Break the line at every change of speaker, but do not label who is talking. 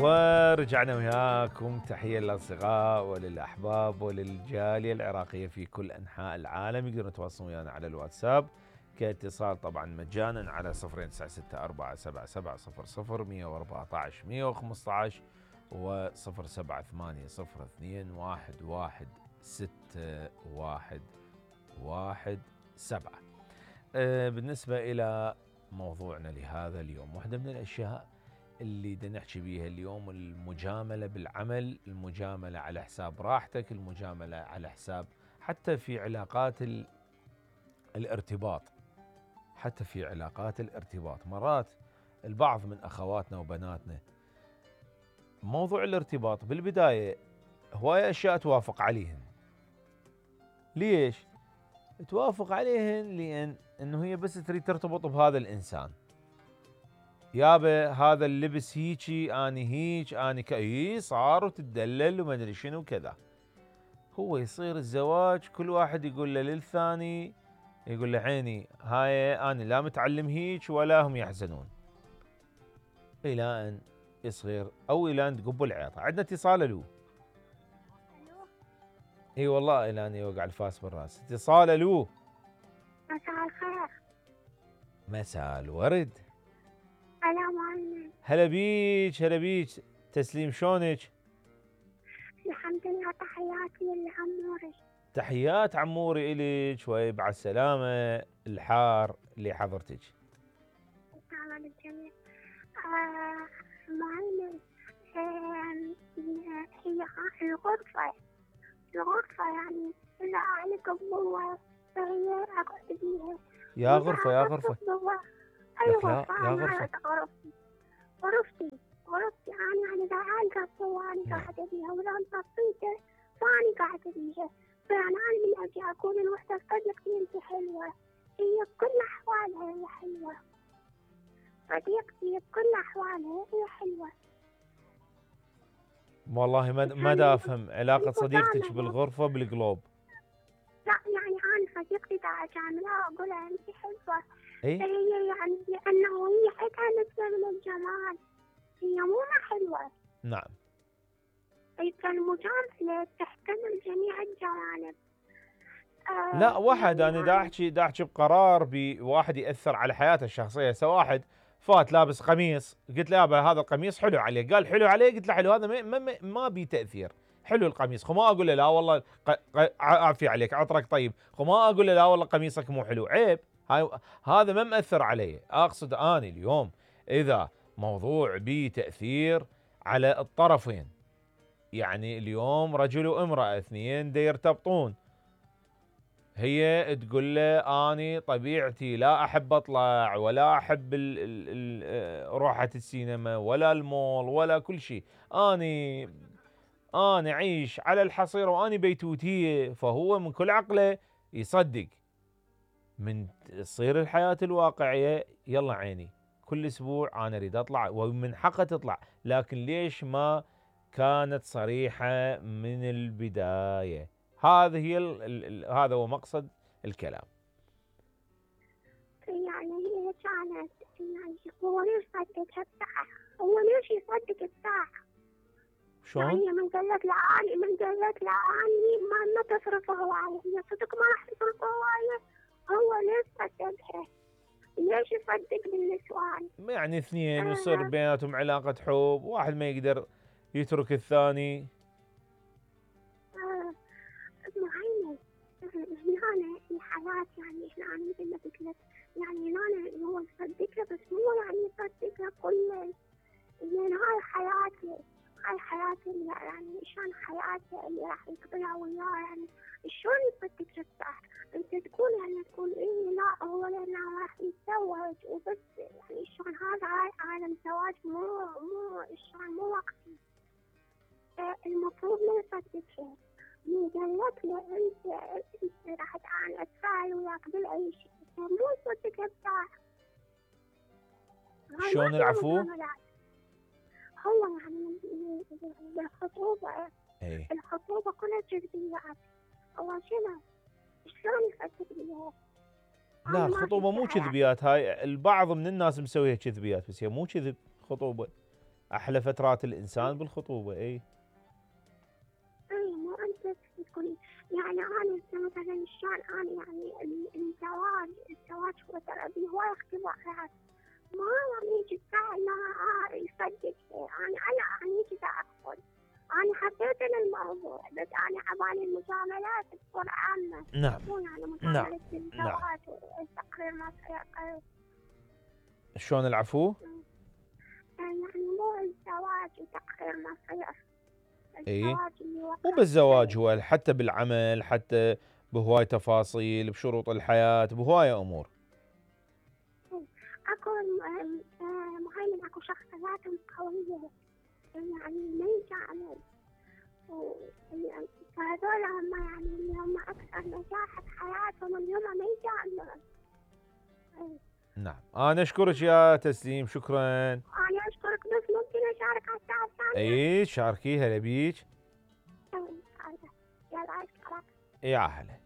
ورجعنا وياكم. تحية للأصدقاء وللأحباب وللجالية العراقية في كل أنحاء العالم. يقدرون يتواصلون ويانا على الواتساب كاتصال طبعا مجانا على 09647700 و014 215 بالنسبة إلى موضوعنا لهذا اليوم، واحدة من الأشياء اللي بدنا نحكي بيها اليوم المجاملة بالعمل، المجاملة على حساب راحتك، المجاملة على حساب حتى في علاقات الارتباط. حتى في علاقات الارتباط مرات البعض من أخواتنا وبناتنا موضوع الارتباط بالبداية هواية أشياء توافق عليهن. ليش؟ توافق عليهن لأن إنه هي بس تريد ترتبط بهذا الإنسان. يابا هذا اللبس هيجي، اني هيج، اني صار وتدلل وما ادري شنو كذا. هو يصير الزواج كل واحد يقول له للثاني، يقول له عيني هاي انا لا متعلم هيج ولا هم يحزنون. الى ان يصير او الى ان تقب العياطه. عندنا اتصال. الو. اي والله الى ان يوقع الفاس بالراس. اتصال. الو.
مساء الخير.
مساء الورد.
هلا معلم.
هلا بيج هلا بيج. تسليم شلونك؟
الحمد لله. تحياتي لعموري.
تحيات عموري إليك ويبعث السلامة الحار لحضرتك.
تمام الجميع. معلم، هي الغرفة يعني إذا أنا قبوة فهي أقعد بيها.
يا غرفة يا غرفة.
أي غرفة؟
يا غرفة.
غرفتي أنا يعني إذا ألقى قبوة أنا قاعدة بيها، وإذا انطفيته فأنا قاعدة بيها. فأنا من أجي أقول الوحدة صديقتي أنت حلوة، هي بكل أحوالها هي حلوة. صديقتي بكل أحوالها هي حلوة.
والله ما دا أفهم علاقة صديقتك بالغرفة بالقلوب.
لا يعني أنا صديقتي دا أجاملها أقولها أنت حلوة.
إيه؟
فهي يعني لأنه هي عندها نسبة من الجمال، هي مو حلوة.
نعم.
المجاملة تحتمل جميع الجوانب.
لا واحد أنا دا أحكي بقرار بواحد يأثر على حياته الشخصية. سواء واحد فات لابس قميص قلت له يابا هذا القميص حلو عليه، قال حلو عليه، قلت له حلو، هذا ما بي تأثير. حلو القميص، خو ما أقول له لا والله عافية عليك عطرك طيب، خو ما أقول له لا والله قميصك مو حلو، عيب. هذا ما مأثر عليه. أقصد أنا اليوم إذا موضوع بي تأثير على الطرفين، يعني اليوم رجل وامرأة اثنين دا يرتبطون، هي تقول له اني طبيعتي لا احب اطلع ولا احب روحة السينما ولا المول ولا كل شيء، اني اعيش على الحصيرة واني بيتوتية. فهو من كل عقله يصدق. من تصير الحياة الواقعية يلا عيني كل اسبوع انا اريد اطلع، ومن حقها تطلع، لكن ليش ما كانت صريحة من البداية؟ هذا هذا هو مقصد الكلام.
يعني هي كانت يعني هو ليش صدقها بساعة؟ هو ليش يصدق بساعة؟
شلون؟
يعني من قالت لعاني ما تصرف هواية، هي صدق ما راح تصرف هواية. هو ليش صدقها؟ ليش يصدق بالنسوان؟
يعني اثنين يصير بيناتهم علاقة حب، واحد ما يقدر يترك الثاني.
معينة هنا الحياة يعني احنا مثل ما قلت لك، يعني هنا هو يصدقها بس مو يعني يصدقها كل، لأن هاي حياتي يعني شلون حياتي اللي راح يقضيها وياه، يعني شلون يصدقها صح؟ انت تقول يعني تقول ايه لا هو لأنه راح يتزوج وبس، يعني شلون هذا عالم زواج مو شلون مو وقتي. المفروض ما يصدقها. من قالت له انت راح اتفاعل وياك باي شيء، مو يصدقها بساعة.
شلون العفو؟
هو يعني الخطوبة
ايه؟
الخطوبة كلها جذبيات. هو شنو؟ شلون يصدق بيها؟
لا الخطوبة مو كذبيات، هاي البعض من الناس مسويها كذبيات، بس هي مو كذب خطوبة. احلى فترات الانسان بالخطوبه.
اي مو انت تقولي يعني انا مثلا شلون انا يعني الزواج هو ترى بيه هواي اختبارات، ما يعني يجي الساعة لا يصدق انا يجي اقول انا حبيت الموضوع بس انا عبالي المجاملات بصورة عامة.
نعم
مو يعني
نعم
مجاملة
نعم.
الزواج والتقرير ما سيقل.
شلون العفو؟
يعني مو الزواج وتقرير مصير،
اي
الزواج اللي وقع.
مو بالزواج، هو حتى بالعمل، حتى بهواي تفاصيل، بشروط الحياة، بهواي امور.
اكو مهيمن اكو شخصيات قوية يعني ما يجامل، فهذول هم يعني اللي هم اكثر نجاح بحياتهم اللي هم ما يجاملون.
نعم انا اشكرك يا تسليم، شكرا.
انا اشكرك بس ممكن اشارك على الساعة الثانية؟
اي شاركيها لبيك.
يلا اشكرك.
يا هلا.